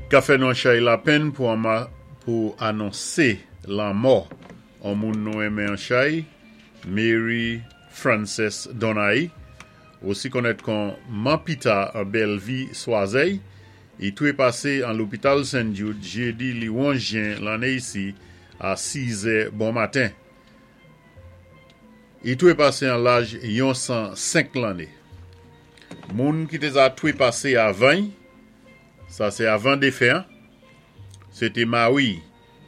Ka fè nou an chay lapenn pou anonsé lanmò an moun nou enmen an chay, Mary Frances Donaghy, osi konnèt kon Man Pita an Bèlvi Swazèy, i twépasé an lopital St. Jude jédi li 11 jen lanné isi a 6 zè bon maten. I twépasé an laj yon 105 lanné. Moun ki té za twépasé avan-y, sa sé avan défen an, sé té mari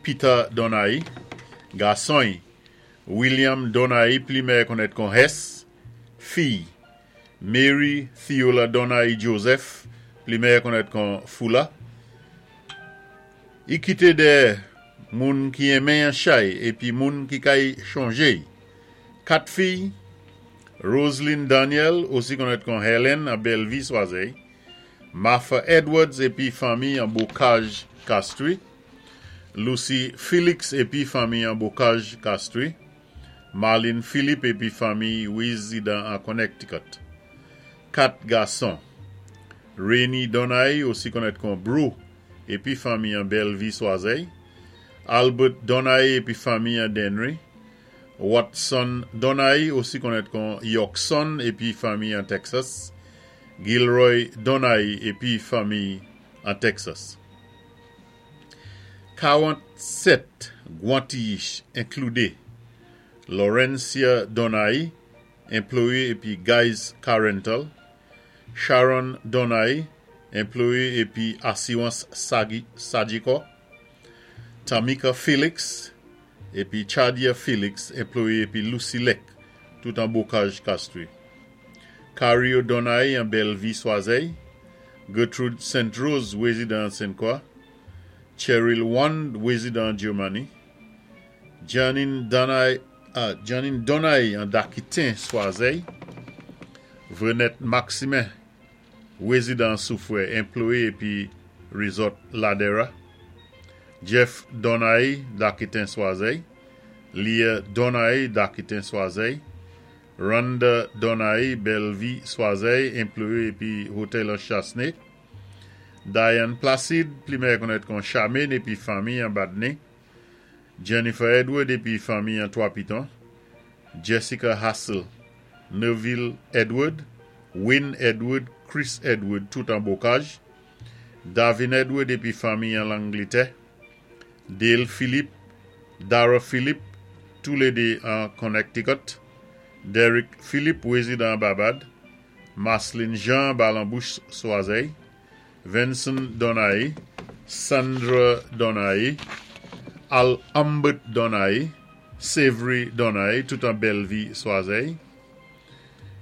Peter Donaghy, gason-y William Donaghy pli mèyè konnèt kon Hess, fiy Mary Theola Donaghy Joseph, pli mèyè konnèt kon Foula. I kité dèyè moun ki enmen-y an chay épi moun ki kay chonjé-y. Kat fiy, Roseline Daniel, osi konnèt kon Helen an Bèlvi Swazèy, Martha Edwards épi fanmi an Bocage Castries, Lucy Felix épi fanmi an Bocage Castries, Marlene Philippe épi fanmi wézidan an Connecticut. Kat gason, Rainy Donaghy, osi konnèt kon Bro, épi fanmi an Bèlvi Swazèy, Albert Donaghy épi fanmi an Dennery, Watson Donaghy, osi konnèt kon Yorkson épi fanmi an Texas, Gilroy Donaghy épi fanmi an Texas. 47 gwan-tiyich enkloudé Laurencia Donaghy, enployé épi Guys Car Rental, Sharon Donaghy, enployé épi Asirans Sagicor, Tamika Felix épi Chadia Felix, enployé épi Lucy Leck, tout an Bocage Castries. Cario Donaghy an Bellevue Swazey, Gertrude St. Rose, wézidan Sainte-Croix, Cheryl Wand, wézidan Germany, Janine Donaghy an Dakitin Swazey, Vrenette Maximin, wézidan Soufoué, enployé épi Resort Ladera, Jeff Donaghy, Dakitin Swazey, Leah Donaghy, Dakitin Swazey, Rhonda Donaghy, Bellevue Swazey, enployé épi Hotel an Chastenay, Diane Placide, pli mèyè konnèt kon Charmaine épi fanmi an Badney, Jennifer Edward épi fanmi an Trois Pitons, Jessica Hassel, Neville Edward, Wayne Edward, Chris Edward, tout an Bocage, Davin Edward épi fanmi an Langlétè, Dale Philippe, Dara Philippe, toulédé an Connecticut, Derek Philippe, wézidan Barbade, Marceline Jean, Balambouche Swazey, Vincent Donaghy, Sandra Donaghy, Al Humbert Donaghy, Savory Donaghy, tout an Bellevue Swazey,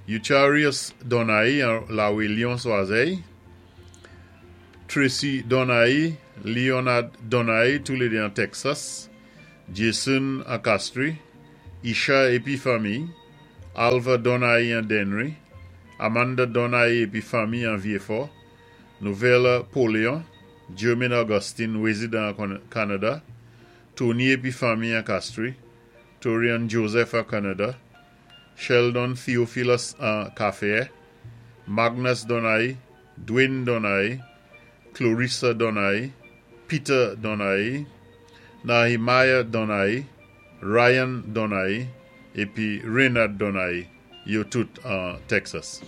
Eucharius Donaghy an La Lyon Swazey, Tracy Donaghy, Leonard Donaghy, toulédé an Texas, Jason an Castries, Isha épi fanmi, Alva Donaghy an Dennery, Amanda Donaghy épi fanmi an Vieux-Fort, Novella Paulion, Jermaine Augustine, wézidan an Canada, Tony épi fanmi an Castries, Torian Joseph an Canada, Sheldon Theophilus an Café, Magnus Donaghy, Dwayne Donaghy, Clarissa Donaghy, Peter Donaghy, Nehemiah Donaghy, Ryan Donaghy, épi Renard Donaghy, yo tout an Texas.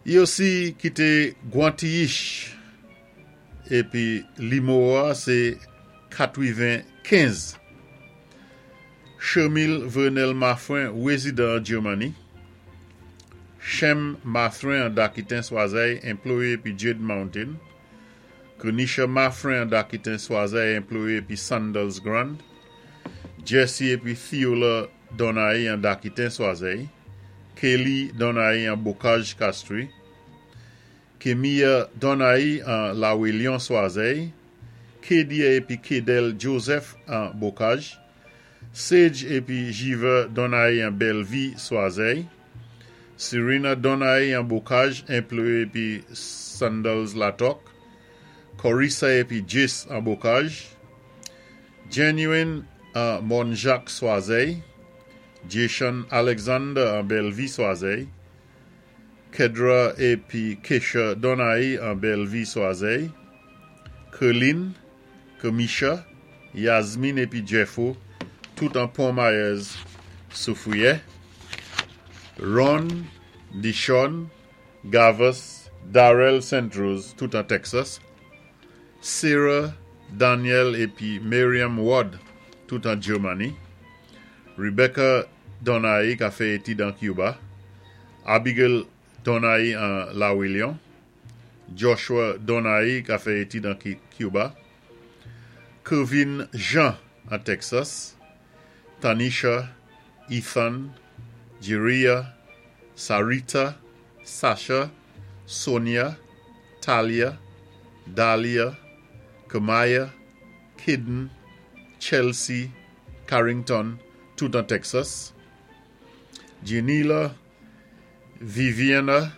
I osi kité gwan tiyich épi nimewo a sé 95. Shermil Vernel Maffrin, wézidan Germany. Shem Mathrin an Dakitin Swazey, enployé épi Jade Mountain. Kenisha Maffrin an Dakitin Swazey, enployé épi Sandals Grand. Jesse épi Theola Donaghy an Dakitin Swazey. Kelly Donaghy an Bocage Castries. Kemia Donaghy an La Lion Swazey. Kedia épi Kedel Joseph an Bocage. Sage épi Jiva Donaghy an Bellevue Swazey. Serena Donaghy an Bocage, enployé épi Sandals Latok. Corissa épi Jace an Bocage. Genuine an Monjacques Swazey. Jason Alexander an Bellevue Swazey. Kedra épi Kesha Donaï an Bellevue Swazey, Kerline, Kemisha, Yasmine épi Jeffo, tout an Pont Myers Soufrière, Ron, Dishon, Gavus, Darrell St. Rose, tout an Texas, Sarah, Daniel épi Miriam Ward, tout an Germany, Rebecca Donaï ka fè étid an Cuba, Abigail Donaï an La William, Joshua Donaï ka fè étid an Cuba, Kevin Jean an Texas, Tanisha, Ethan, Jiria, Sarita, Sasha, Sonia, Talia, Dahlia, Kamaya, Kidden, Chelsea, Carrington, tout an Texas, Janila, Viviana,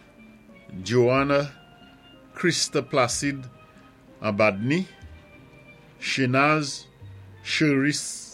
Joanna, Krista Placide an Badney, Shenaz, Cheris.